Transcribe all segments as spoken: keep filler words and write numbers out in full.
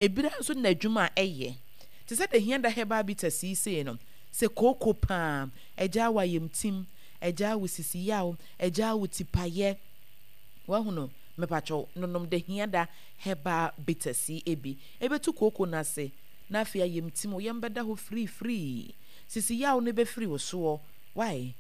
Ebira nso na adwuma a ɛyɛ te sɛ Dahiada Herbal Bitters yi sei no, sɛ kooko paa, ɛgyaa wo ayamtim, ɛgyaa wo sisi yaw, ɛgyaa wo tipayɛ. Wahunu? Mepakyɛw, nonom Dahiada Herbal Bitters yi bi. Ɛbɛtu kooko no ase, na afei ayamtim, wo yam bɛda hɔ firifirii. Sisi yaw no bɛfiri wo soɔ. Wai?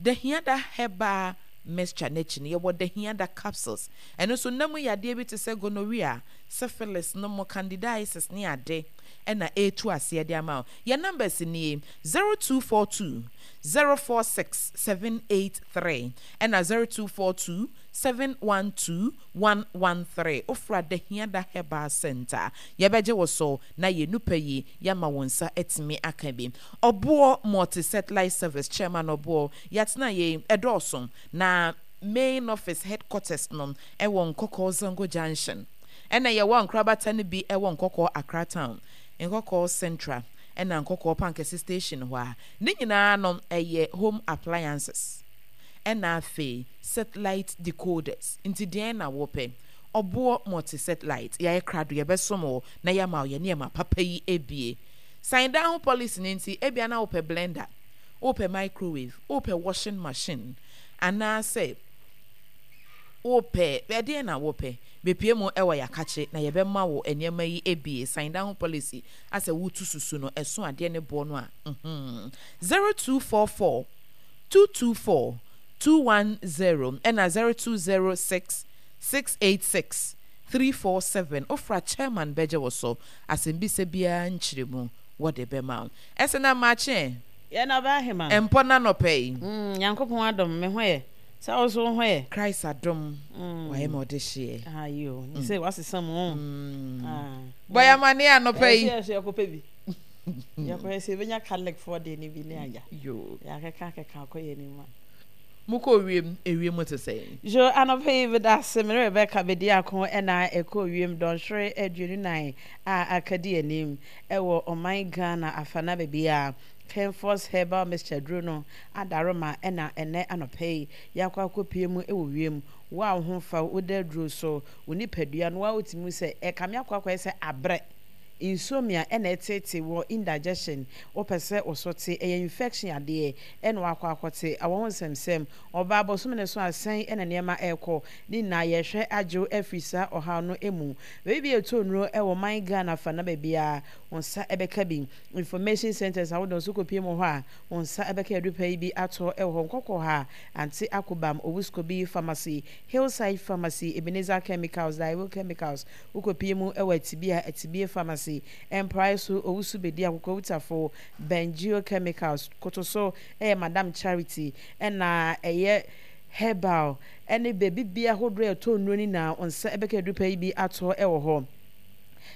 Dahiada Herbal Mixture no akyi no, yɛwɔ Dahiada Capsules. Ɛno nso, nna mu yadeɛ bi te sɛ gonorrhea, syphilis no mo, candidiasis ne ade ɛna ɛretu aseɛ de ama wo. Yɛn numbers nie: zero two four two zero four six seven eight three ɛna zero two four two seven one two one one three. Wofra Dahiada Herbal Center, yɛbɛgye wo so na yɛn nupa yi yɛama wo nsa atumi aka bi. Ɔboɔ Multi Satellite Service chairman Ɔboɔ, yɛatena yɛn ɛdɔɔso na main office headquarters no ɛwɔ Nkɔkɔɔ Zango Junction, ɛna yɛwɔ nkorabata no bi ɛwɔ Nkɔkɔɔ Accra Town, Nkɔkɔɔ Central ɛna Nkɔkɔɔ Pankɛse Station hɔ a ne nyinaa no ɛyɛ home appliances ɛna afei satellite decoders. Nti deɛn na wɔpɛ? Ɔboɔ Multi Satellite, yɛayɛ krado, yɛbɛsom wɔ na yɛama wo yɛ nneɛma papa yi ebie. San dan ho policy ne nti ebia na wopɛ blender, wopɛ microwave, wopɛ washing machine, anaasɛ wopɛ ɛdeɛn na wopɛ, bepie mu ɛwɔ Yɛakakye na yɛbɛma wo nneɛma yi ebie. San dan ho policy asɛ wotu susu no ɛso adeɛ ne boɔ no a mhm zero two four four two two four two one zero ɛna zero two zero six six eight six three four seven. Ofra chairman bɛgye wo so, asɛmbisa biara nkyerɛ mu wɔde bɛma wo. Ɛsɛ na maakye. Yɛn na ɔbaa hema. Mpɔ na nɔpɛ yi. Mm, Nyankopɔn adom, me ho yɛ. Sɛ wo so wo ho yɛ? Christ adom, wayɛ ma ɔde hyeɛ. Ayo, ne sɛ wasesa mu. Ah. Bɔyɛ amane anɔpɛ yi. Ɛsɛ yɛ yɛkɔpɛ bi. Yɛkɔyɛ sɛ yɛbɛnya Catholic foɔ deɛ ne bi ne agya. Yo. Yɛakeka keka akɔ yɛ anim a. Mokɔ wiem, ewiem te sɛ? Jo, anɔpɛ yi meda ase. Me ne Rebecca Bediako ɛna ɛkɔ wiem dɔnhwere aduonu nan a aka di anim ɛwɔ ɔman Ghana afana baabi a Kenfos Herbal Mixture duro no adaroma ɛna ɛnɛ anɔpɛ yi yɛakɔ akɔpie mu ɛwɔ wiem. Wo a wo ho fa wo da duro so, wo nipadua no wa wotumi sɛ ɛkame akɔ akɔyɛ sɛ abrɛ, insomnia ɛna ɛtete wɔ indigestion, wopɛ sɛ wo so te, ɛyɛ infection adeɛ ɛna wakɔ akɔte awɔ ho nsɛmsɛm, ɔbaa bɔsome ne so asɛn ɛna nneɛma ɛrekɔ ne nyinaa, yɛhwɛ agyew afiri saa ɔhaw no mu. Baabi bi ɛtɔ nnuro ɛwɔ man Ghana fa na baabi a wɔn nsa ɛbɛka bi, information centers ahodoɔ nso kɔpie mu hɔ a wɔn nsa ɛbɛka adupa yi bi atɔ ɛwɔ hɔ. Nkɔkɔ ha, Ante Akobam, Owuskobi Pharmacy, Hillside Pharmacy, Ebenezer Chemicals, Daiwo Chemicals, wokɔpie mu ɛwɔ Atibie a, Atibie Pharmacy, Mprae so, Owusu Bedi Akokɔ Wutafo, Bengio Chemicals, Koto so ɛyɛ Madam Charity, ɛna ɛyɛ herbal ɛne baabi bia ahodoɔ a ɛtɔ nnuro no nyinaa wɔn nsa ɛbɛka adupa yi bi atɔ ɛwɔ hɔ.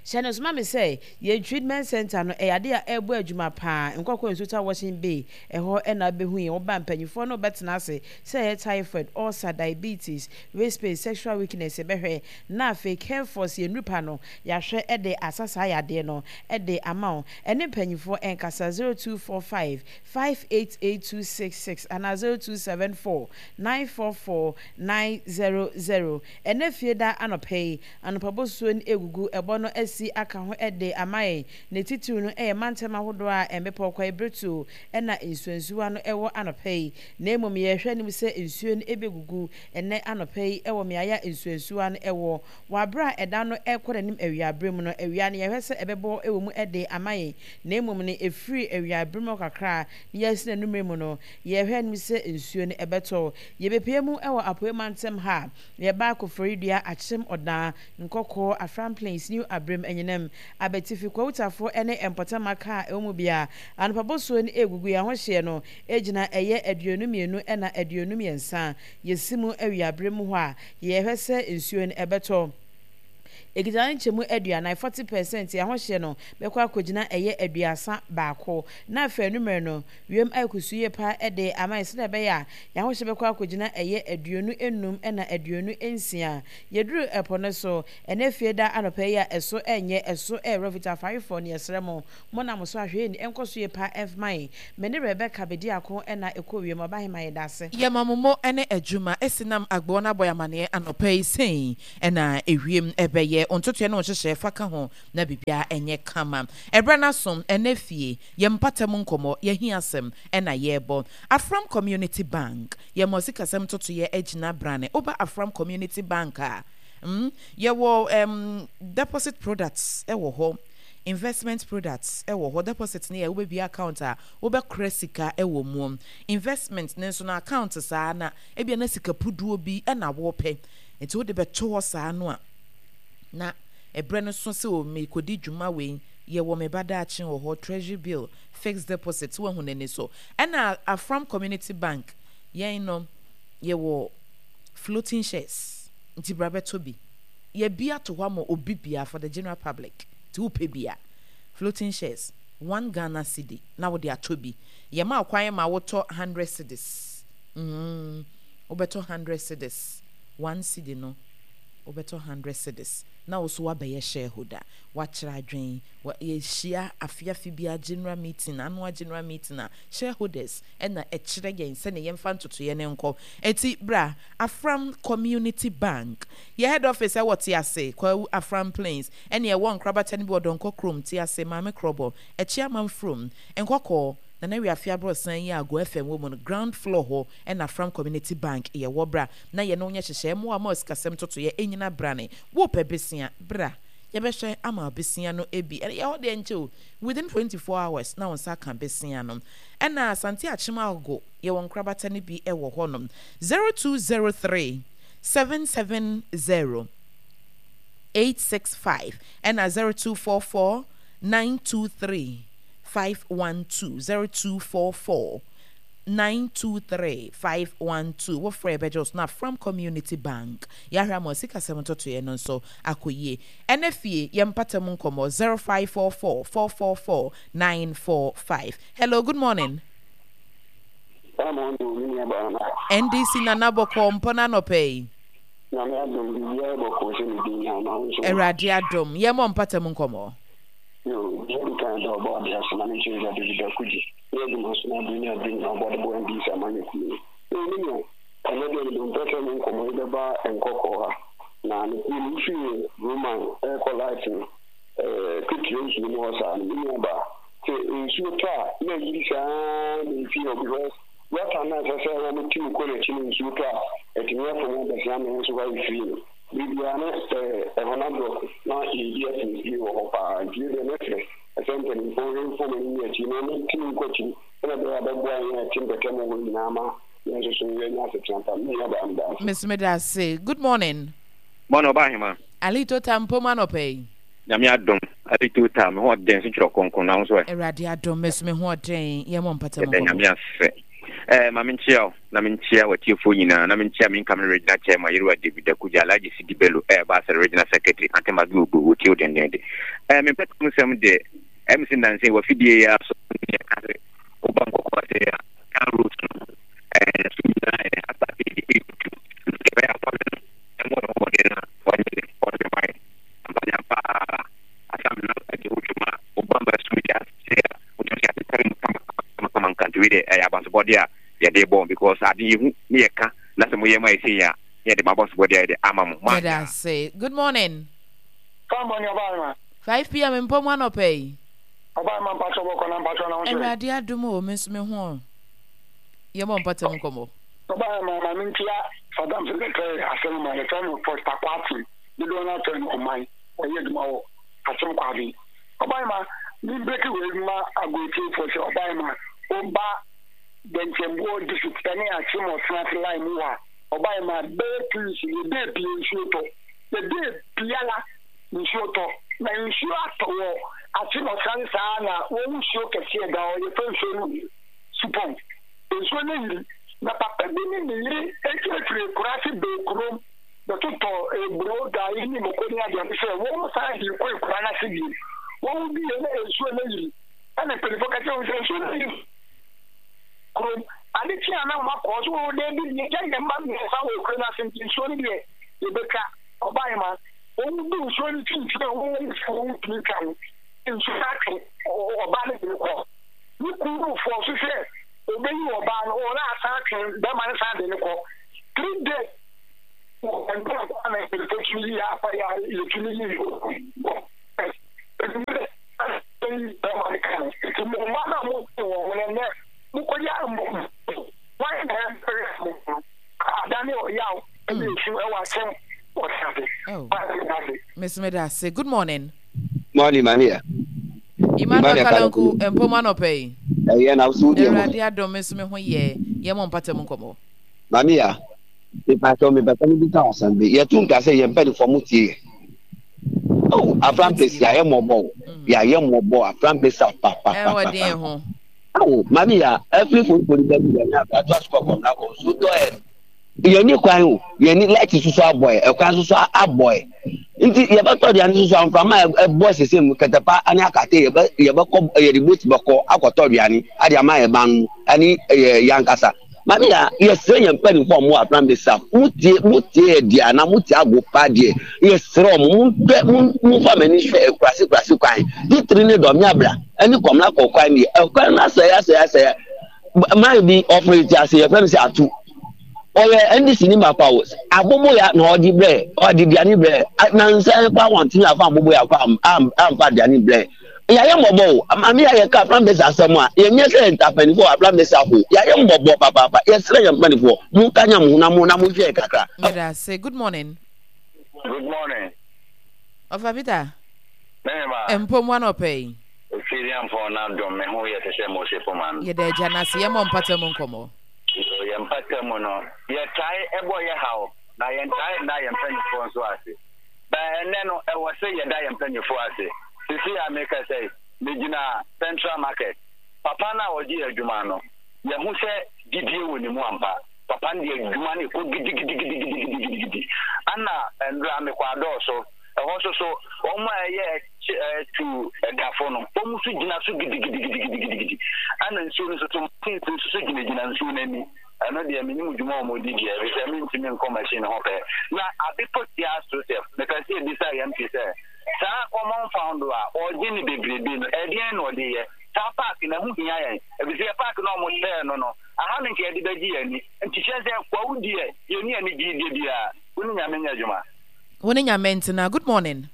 Hyɛ no soma me sɛ yɛn treatment center no ɛyɛ ade a ɛrebɔ adwuma paa. Nkɔkɔ Nsuta Washing Bay ɛhɔ ɛna abɛhu yɛn. Wɔba mpanyinfoɔ no bɛtena ase sɛ ɛyɛ typhoid, ulcer, diabetes, waist pain, sexual weakness, ɛbɛhwɛ na afei Careforce yɛn nupa no yɛahwɛ ɛde asa saa yadeɛ no ɛde ama wo. Ɛne mpanyinfoɔ ɛnkasa zero two four five five eight eight two six six anaa zero two seven four nine four four nine zero zero. Ɛnɛ fie da anɔpɛ yi, anɔpa bosuo no egugu ɛbɔ no asi aka ho ɛde ama yɛn. Ne titiriw no ɛyɛ mantam ahodoɔ a mmepɔ kwae beretuo ɛna nsuansuwa no ɛwɔ anɔpɛ yi, na mmom yɛhwɛ anim sɛ nsuo no ɛbɛgugu ɛnɛ anɔpɛ yi ɛwɔ mmeaeɛ a nsuansuwa no ɛwɔ. Wɔ abere a ɛda no ɛkɔ n'anim awiabere mu no, awia no yɛhwɛ sɛ ɛbɛbɔ ɛwɔ mu ɛde ama yɛn, na mmom no ɛfiri awiabere mu kakra na yɛasi n'anumere mu no, yɛhwɛ anim sɛ nsuo no ɛbɛtɔ. Yɛbɛpie mu ɛwɔ Apoe mantam ha, yɛba Koforidua, Akyem Ɔdan, Nkɔkɔɔ, Afram Plains, New Abrem, Anyinam, Abetifi, Kwawutafo ne mpɔtam kaa ɛwɔ mu bia anɔpa bosuo no ɛgugu yɛn ahohyeɛ no gyina ɛyɛ aduonu mmienu ɛna aduonu mmiɛnsa. Yɛsi mu awiabere mu hɔ a yɛhwɛ sɛ nsuo no ɛbɛtɔ ekita ne nkyɛmu aduanan, forty percent. Ahohyɛ no bɛkɔ akɔgyina ɛyɛ aduasa baako, na afei anumere no wiem ayɛ kusuu yie paa ɛde ama yɛn sɛdeɛ ɛbɛyɛ a yɛahohyɛ bɛkɔ akɔgyina ɛyɛ aduonu enum ɛna aduonu nsia. Yɛduru ɛpo no so ɛnɛ fie da anɔpɛ yi a, ɛso ɛnyɛ ɛso ɛɛrɛ fitaa. Afarefoɔ no, yɛsrɛ mo, mo nam so ahwɛ yɛn ɛnkɔ so yie paa ɛmfama yɛn. Me ne Rebecca Bediako ɛna ɛkɔ wiem. Ɔbahema, yɛda ase. Yɛma mo mo ne adwuma esi nam agboɔ no abɔ amaneɛ anɔpa yi sɛn ɛna ewiem ɛbɛyɛ. Wo ntotoeɛ ne wo nhyehyɛeɛ fa ka ho na biribiara nyɛ kama. Ɛberɛ no aso, ɛnnɛ fie, yɛn mpata mu nkɔmmɔ, yɛn ahiasɛm ɛna yɛrebɔ. Afram Community Bank, yɛma sikasɛm ntotoeɛ agyina brane. Woba Afram Community Bank a, mm, yɛwɔ um, deposit products ɛwɔ hɔ, investment products ɛwɔ hɔ. Deposit ne yɛ wobɛbia account a wobɛkora sika ɛwɔ mu. Investment ne nso no, account saa na ebia na sika puduo bi ɛna wɔpɛ, nti wode bɛto hɔ saa no a, na ɛberɛ no so sɛ o mekɔdi dwuma wei, yɛwɔ me ba daakye wɔ hɔ. Treasury bill, fixed deposit, woahu n'ani so. Ɛna Afram Community Bank, yɛn no yɛwɔ floating shares, nti bra bɛtɔ bi. Yɛbi ato hɔ ama obi bia, for the general public. Nti wopɛ bi a, floating shares, one Ghana cedi na wode atɔ bi. Yɛma kwan ma wotɔ hundred cedis. mm, wobɛtɔ hundred cedis, one cedi no wobɛtɔ hundred cedis, na wo so wabɛyɛ shareholder. Wakyerɛ adwen, yɛhyia afiafi bia general meeting, annual general meeting a, shareholders ɛna ɛkyerɛ yɛn sɛne yɛmfa ntotoeɛ ne nkɔ. Eti bra Afram Community Bank. Yɛ head office ɛwɔ Tease Kwawu, Afram Plains, ɛne ɛwɔ nkorabata no bi wɔ Dɔnkɔ kurom, Tease, Maame Krɔbɔ, Ɛkyi Amanfurom, Nkɔkɔɔ, Nana Wiafe Aborɔsan yi a Go F M wɔ mu no, ground floor hɔ ɛna Afram Community Bank yɛwɔ. Bra na yɛne wo nyɛ hyehyɛ mmoa ma sikasɛm totoeɛ ɛnyina brane. Wopɛ besia, bra, yɛbɛhwɛ ama besia no ebi. Ɛyɛ hɔ deɛ nkyɛ o, within twenty-four hours na wo nsa ka besia no. Ɛna Asante Akyem Agogo, yɛwɔ nkorabata no bi ɛwɔ hɔnom. zero two zero three seven seven zero eight six five ɛna zero two four four nine two three five one two, zero two four four nine two three five one two. Wofrɛ, bɛgye wo so. Na Afram Community Bank, yɛahwɛ ama sikasɛm ntotoeɛ no nso akɔ yie. Ɛnɛ fie, yɛn mpata mu nkɔmmɔ, zero five four four four four four nine four five. Hello, good morning. N D C Nana, bɔkɔ mpɔ no anɔpɛ yi? Nyame adom, biribiara bɔkɔɔ sɛ ne din na wo nso? Awurade adom. Yɛmmɔ mpata mu nkɔmmɔ. Yo, deɛ di kan, da ɔbɔ ade ase na menkyerɛ sɛ David Akugye ne adwuma so na abere ne abere nyinaa ɔbɔ de bɔ N D C amanyɔkuo no. Ee, me nua, ɛnɛ deɛ mede mpɛ sɛ me nkɔmmɔ yi bɛba Nkɔkɔɔ ha. Na ne kuro no, wofiri Roman ɛrekɔ light no, ketewa nsuo mu hɔ saa no, me nua baa sɛ nsuo tɔ a na ayiri saa na ɛfie hɔ, because gutter no a ɛsɛ sɛ wɔn ti mu kɔ n'akyi no, nsuo tɔ a ɛtumi afɔ mu abɛsia ama nso hɔ ayɛ firi no. Biribiara ne ɛhɔ no aborɔko na yɛdi afinsie wɔ hɔ paa. Nti deɛ mɛsrɛ ɛsɛ mpanimfoɔ nhwɛ mfom anim ne akyi na wɔntumi nkɔ akyiri sɛnɛ ɛbɛyɛ a bɛboa yɛn a ɛte mpɛtɛ mu hɔ nyinaa ma yɛn nso so yɛnya asetena pa. Me nua baa, meda ase. Miss, meda ase. Good morning. Mɔne ɔba ahema. Alito Tampo mu anɔpɛ yi? Nyame adom, Alito Ta, me ho ɔden so twerɛ kronkron na wo nso ɛ? Awurade adom, me so me ho ɔden. Yɛmmɔ mpata mu Yɛda nkɔmmɔ. Nyame ase. Ɛɛ, ma menkyia wo na menkyia w'atiefoɔ nyinaa na menkyia me incoming regional chairman, Yerewa David Akugya, Alhaji Sidi Bello, ɛɛba asɛ regional secretary Ante Magi Ogbo, wɔtie wo dendenden. Ɛɛ, me mpata mu nsɛm deɛ, ɛm sɛ nnansa yi wafidie yi ara so ne yɛka sɛ woba Nkɔkɔɔ ase a, car roads no ɛɛ so nyinaa yɛ asase de ɛretutu, nti ɛbɛyɛ afɔre no ɛmmɔ ne ho mmɔden na wɔnyɛ ne ɔde ma yɛ ampanya paa asam na ɛde ho dwuma a woba mba sum yi ase a wotumi sɛ atetare mu kama kama kama nka. Nti wei deɛ, ɛyɛ abasobɔdeɛ a yɛde bɔ, because ade yɛhu ne yɛka na sɛ moyɛ ma yɛsei a, ne yɛde mo abasobɔdeɛ a yɛde ama mo Yɛda moanyɛ a. ase. Good morning. Fambɔ ne ɔbaa ma. five p m mpɔ mu anɔpɛ yi? Ɔbaa ma, mpatsɔ bɔkɔ na mpatsɔ na wo nso ɛ? Awurade adom o, me nso me ho. Yɛmmɔ mpata mu nkɔmmɔ. Ɔbaa ma, ma mentia Saddam secretary asɛm ma yɛfrɛ no Foster Kwaten, dodoɔ no afrɛ no ɔman, ɔyɛ adwuma wɔ Akyem Kwaben. Ɔbaa ma, membreki wei ma agorɔtiefoɔ sɛ ɔbaa ma, woba Dɛnkyɛmboɔ district ɛne Akyem Ɔsenase line mu hɔ a, ɔbaa ma, bɛyɛ two weeks yɛdɛ pie nsuo tɔ, yɛdɛ biara nsuo tɔ, na nsuo atɔ wɔ Akyem Ɔsenase saa na wɔn nsuo kɛseɛ da hɔ, yɛfrɛ nsuo no Supɔn. Nsuo no yiri na papa bi ne ne yere efirifiri ekuraase bɛɛ kurom bɛtotɔ eburo, gari ne moko ne adeade sɛ wɔn san de kɔ ekura n'ase bio. Wɔn bi yɛ na nsuo no yiri, ɛna mpanyinfoɔ ka kyerɛ wɔn sɛ nsuo no yiri kurom ade kye a na wɔn akɔ so wɔn dɛbi deɛ gya yɛn mma mmiɛnsa wɔ ekura n'ase, nti nsuo no deɛ yɛbɛtwa. Ɔbaa ma, wɔn du nsuo no kyinkyini a wɔn wɔn sɛ wɔn tumi twa no, nsuo no atwe ɔbaa no de no kɔ. Ne kunu fɔ so sɛ obeyi ɔbaa no, ɔna asan atwe bɛrima no san de no kɔ. Three days Ɛnna na mpanyinfoɔ tumi yi afa yɛ a yɛtumi yi bɛrima no ka no nti mo mma no a mo wɔ ho no nnɛ mokɔyɛ mo wɔn na ɛmpere mo no adane ɔyaw ɛne esu ɛwɔ asɛm ɔte ase. Miss Medase, good morning. Morning, Maria. Emmanuel Kalanku, mpom anɔpa yi. Ɛyɛ na so deɛ mo. Awurade adom me nso me ho yɛ yɛ mo mpata mu nkɔmmɔ. Maria, mepatɔ mepatɔ me bisa asɛm bi. Yɛto nka sɛ yɛn mpanimfoɔ mo tie yɛ. Oh, Aframpesi yɛayɛ mmɔbɔ o. Yɛayɛ mmɔbɔ Aframpesi papapapa. Ɛwɔ deɛ ho. Awo, Maria, ɛfiri forifori bɛ bi yɛn ato asukɔ kɔm na kɔ so tɔ ɛ. Yɛn ni kwan o, yɛn ni light soso abɔ ɛ, ɛkwan soso abɔ ɛ. Nti yɛbɛtɔ deɛ no soso amframa ɛbɔ sese mu kɛtɛpa ne akate yɛbɛ yɛbɛkɔ yɛde boat bɛkɔ akɔtɔ aduane ade ama yɛn ba no ɛne yɛ yankasa. Maame ya yɛsrɛ yɛn mpanimfoɔ a wɔwɔ Afram Besa mo tie mo tie yɛ deɛ anaa mo tie ago pa deɛ yɛsrɛ wɔn mo nhwɛ mo mo fa mo ani hwɛ akurase kurase kwan titiri ne dɔm abra ɛne kɔmla kɔ kwan deɛ ɛkwan no asɛe asɛe asɛe man bi ɔfiri ti ase yɛfrɛ no sɛ atu ɔyɛ N D C ni mapa o aboboya na ɔde brɛ ɔde aduane brɛ nansa kɔ awɔntene afa aboboya kɔ amfa aduane brɛ. Yɛayɛ mmɔbɔ o maame yɛ yɛka Afram Besa asɛm a yɛnyɛ sɛ ntapanifoɔ Afram Besa ho yɛayɛ mmɔbɔ papaapa. Yɛsrɛ yɛn mpanifoɔ monka nya mo ho na mo na monhwɛ yɛ kakra. Meda ase. Good morning. Good morning. Ɔfa Peter. Mehema. Mpom anɔpa yi. Efiriampɔn na dɔm me ho yɛ te sɛ Mose poma no. Yɛda agya no ase. Yɛmmɔ mpata mu nkɔmmɔ. Yɛn mpata mu no, yɛtae bɔ yɛ haw na yɛntae nna yɛn mpanimfoɔ nso ase. But ɛnnɛ no, ɛwɔ sɛ yɛda yɛn mpanimfoɔ ase. Seesei a merekasa yi, megyina Central Market. Papa no a ɔgye adwuma no, yɛahu sɛ gyidie wɔ ne mu ampa. Papa no deɛ adwuma no rekɔ gidigidigidigidigidi. Ana nnora mekɔ adɔɔso. Ɛhɔ nso so, wɔn a ɛyɛ tu tafo no, wɔn nso gyina so gidigidigidigidi. Ana nsuo no nso so, machines nso so gyinagyina nsuo no ani. Ɛno deɛ menim dwuma a wɔdi deɛ, ɛfiri sɛ mentumi nkɔ machine ho pɛ. Na ade pɔtia Joseph, mepɛ sɛ yɛbisa yɛn M P sɛ, saa common fund a ɔgye ne bebrebe no, ɛdeɛn na ɔde yɛ? Saa park no, ɛho hia yɛn. Ɛfiri sɛ yɛ park no a wɔsɛɛ no no, aha no nka yɛde bɛgye yɛn ani. Nti kyerɛ sɛ kwawu deɛ, yɛnni anigyedeɛ biara. Wo ne Nyame nyɛ adwuma. Wo ne Nyame ntena. Good morning.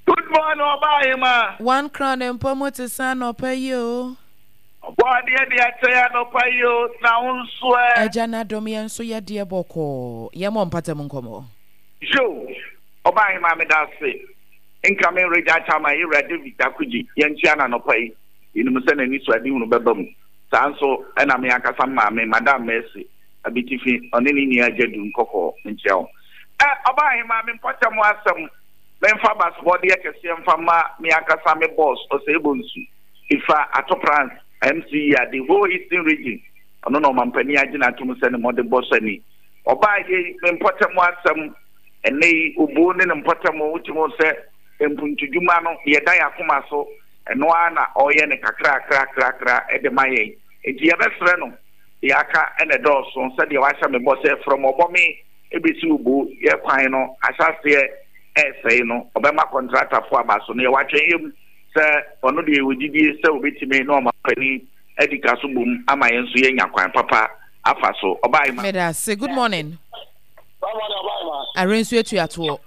Good morning, Ɔbaahemaa. One Crown mpo mo te sɛ anɔpa yi o. Ɔbɔ adeɛ de akyɛ yɛ anɔpa yi o, na wo nso ɛ? Agya no adom yɛn nso yɛ deɛ bɔkɔɔ. Yɛmmɔ mpata mu nkɔmmɔ. Yo, Ɔbaahemaa meda ase. Nka me Regya Chairman Yewura David Dakogyi yɛnkyea no anɔpa yi. Yɛnim sɛ n'anisoadehunu bɛba mu. Saa nso na me ankasa me maame Madam Mercy Abitifi ɔne ne nua Agyadu Nkɔkɔɔ menkyea wɔn. Ɛ, Ɔbaahemaa me mpɔtam asɛm memfa abasobɔdeɛ kɛseɛ mfa mma me ankasa me boss Osei Bonsu Ifa Ato Prance M C E a the whole Eastern Region ɔno na ɔmampanin agye no atom sɛ ne mmɔdebɔ sani. Ɔbaa yei me mpɔtam asɛm ɛnnɛ yi obuo ne ne mpɔtam wotumi hu sɛ mpuntudwuma no deɛ ɛda yɛn akoma so ɛno ara na ɔreyɛ no kakrakrakrakra de ma yɛn. Enti yɛbɛsrɛ no deɛ aka na ɛdɔɔso sɛdeɛ wahyɛ me bɔ sɛ from ɔbɔme bɛsi obuo yɛ kwan no ahyɛaseɛ ɛresɛe no ɔbɛma kɔntratafoɔ aba so no yɛwɔ atwɛnyɛ mu sɛ ɔno deɛ yɛwɔ gyidie sɛ ɔbɛtumi ne ɔmampanin adi ka so bom ama yɛn nso yɛanya kwan papa afa so. Ɔbaa Meda ase. Good morning. Arensu atuatoɔ.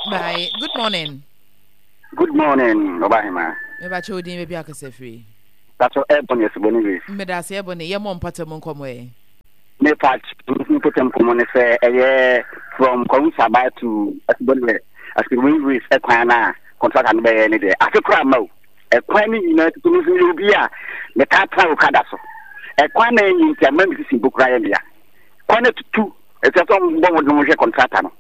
Bye. Good morning. Good morning, Ɔbahema. Mebakyɛ wo din, baabi a akasa firi. Pakyɛ Ebony Asubɔni Race. Medase Ebony, yɛmmɔ mpɔtam nkɔmmɔ ɛ. Me pakyɛ me mpɔtam nkɔmmɔ ne sɛ ɛyɛ from Kwawu Saba to Asubɔni Asubɔni Race ɛkwan no a contractor no bɛyɛ ne deɛ afe koraa mma o. Ɛkwan no nyinaa tutu me nso meyɛ obi a metaa tena okada so. Ɛkwan na ɛnyɛ nti ama me sisi mpo koraa yɛ me ya. Kwan no atutu ɛsɛ sɛ ɔmbɔ mmɔden hwɛ contractor no.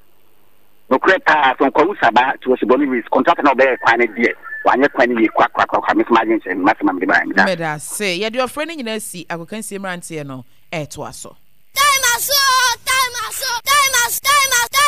Nokorɛ paa from Kwawu Saba to Osiboni Race contractor no a ɔbɛyɛɛ kwan no deɛ wanyɛ kwan no yie korakorakorakora me nso m'adwene kyerɛ me m'asɛm a mede baeɛ meda ase. Meda ase. Yɛde ɔfrɛ no nyinaa si agokansie mmeranteɛ no ɛretoa so. Time aso oo, time aso, time aso, time aso, time.